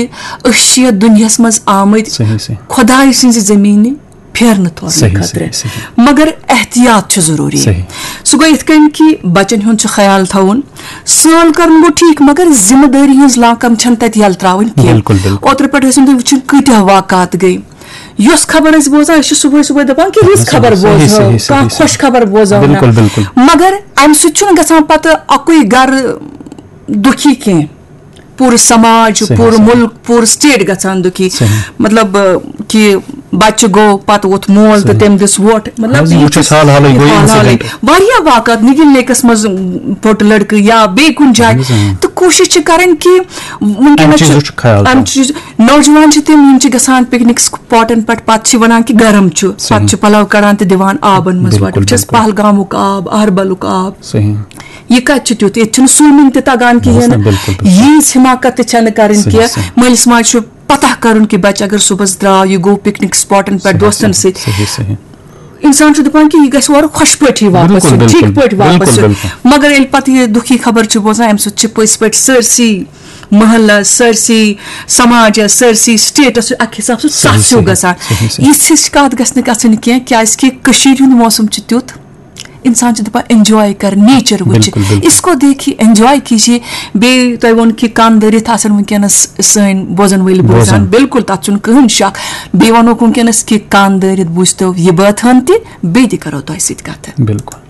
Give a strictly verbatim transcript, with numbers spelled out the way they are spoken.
أسۍ چھِ یَتھ دُنیاہَس منٛز آمٕتۍ صحیح صحیح خۄداے سٕنٛزِ زٔمیٖنہِ پھیرنہٕ تھورنہٕ صحیح، خٲطرٕ۔ صحیح، صحیح۔ مگر احتیاط چھُ ضروٗری۔ صحیح۔ سُہ گوٚو یِتھ کٔنۍ کہِ بَچَن ہُنٛد چھُ خیال تھاوُن۔ سٲل کَرُن گوٚو ٹھیٖک، مگر ذمہٕ دٲری ہٕنٛز لاکَم چھَنہٕ تَتہِ یَلہٕ ترٛاوٕنۍ کینٛہہ۔ بِلکُل، بِلکُل۔ اوترٕ پٮ۪ٹھ ٲسِو تُہۍ وٕچھِو کۭتیٛاہ واقعات گٔے۔ یۄس خبر أسۍ بوزان، أسۍ چھِ صُبحٲے صُبحٲے دَپان کہِ رٕژ خبر صحیح، بوزہو، صحیح، صحیح، کانٛہہ صحیح۔ خۄش خبر بوزہو نہ۔ بِلکُل، بِلکُل۔ مگر اَمہِ سۭتۍ چھُنہٕ گژھان پَتہٕ اَکُے گَرٕ دُکھی کینٛہہ۔ پوٗرٕ سماج، صحیح، پوٗرٕ صحیح۔ مُلک، پوٗرٕ سٹیٹ گژھان دُکھی۔ صحیح۔ مطلب، کہِ بَچہٕ گوٚو، پَتہٕ ووٚتھ مول تہٕ صحیح۔ تٔمۍ دِژ ووٹ۔ مطلب، اَہَن حظ، یہِ وٕچھ چھُ اَسہِ حال حالٕے گوٚو یہِ حال حالٕے۔ incident۔ واریاہ واقعات، نِگِل لیکَس منٛز پھوٚٹ لٔڑکہٕ یا بیٚیہِ کُنہِ جایہِ۔ اَہَن حظ، اۭں۔ تہٕ کوٗشِش چھِ کَرٕنۍ کہِ وٕنکیٚنَس اَمہِ چھُ، چیٖزُک چھُ خیال اَمہِ تھاوُن۔ چیٖز، نوجوان چھِ تِم، یِم چھِ گژھان پِکنِک سپاٹَن پٮ۪ٹھ، پَتہٕ چھِ وَنان کہِ گرم چھُ، پَتہٕ صحیح۔ چھِ پَلَو کَڑان تہٕ دِوان آبَن منٛز۔ بِلکُل، وَٹُن چھِ اَسہِ بِلکُل۔ پہلگامُک آب، اَہربَلُک آب۔ صحیح۔ یہِ کَتہِ چھُ تیُتھ؟ ییٚتہِ چھُنہٕ swimming تہِ تَگان کِہیٖنۍ نہ، نہٕ۔ بِلکُل، بِلکُل۔ ییٖژ حماقت تہِ چھَنہٕ کَرٕنۍ صحیح، کینٛہہ۔ صحیح۔ مٲلِس ماجہِ چھُ پَتہ کَرُن کہِ بَچہٕ اگر صُبحَس درٛاو، یہِ گوٚو پِکنِک سپاٹَن پٮ۪ٹھ صحیح، دوستَن صحیح، سۭتۍ۔ صحیح، صحیح۔ اِنسان چھُ دَپان کہِ یہِ گژھِ اورٕ خۄش پٲٹھی واپَس بِلکُل، یُن، بِلکُل، ٹھیٖک پٲٹھۍ واپَس بِلکُل، یُن۔ بِلکُل۔ مگر ییٚلہِ پَتہٕ یہِ دُکھی خبر چھِ بوزان، اَمہِ سۭتۍ چھِ پٔزۍ پٲٹھۍ سٲرسٕے محلَس، سٲرسٕے سماجَس، سٲرسٕے سٹیٹَس چھُ اَکہِ حساب سۭتۍ صحیح، سَتھ ہیوٗ صحیح، گژھان۔ صحیح، صحیح۔ یِژھ ہِش کَتھ گژھِ نہٕ گژھٕنۍ کینٛہہ، کیٛازِکہِ کٔشیٖرِ ہُنٛد موسم چھُ تیُتھ، اِنسان چھُ دَپان enjoy کَر، nature وٕچھ۔ بِلکُل، بِلکُل۔ اس کو دیکھیے، enjoy کیجیے۔ بیٚیہِ تۄہہِ ووٚن کہِ کَن دٲرِتھ آسَن وٕنکیٚنَس سٲنۍ بوزَن وٲلۍ بوزان۔ بوزان۔ بِلکُل، تَتھ چھُنہٕ کٕہٕنۍ شک۔ بیٚیہِ وَنوکھ وٕنکیٚنَس کہِ کَن دٲرِتھ بوٗزتو یہِ بٲتھ ہَن تہِ، بیٚیہِ تہِ کَرو تۄہہِ سۭتۍ کَتھٕ۔ بِلکُل۔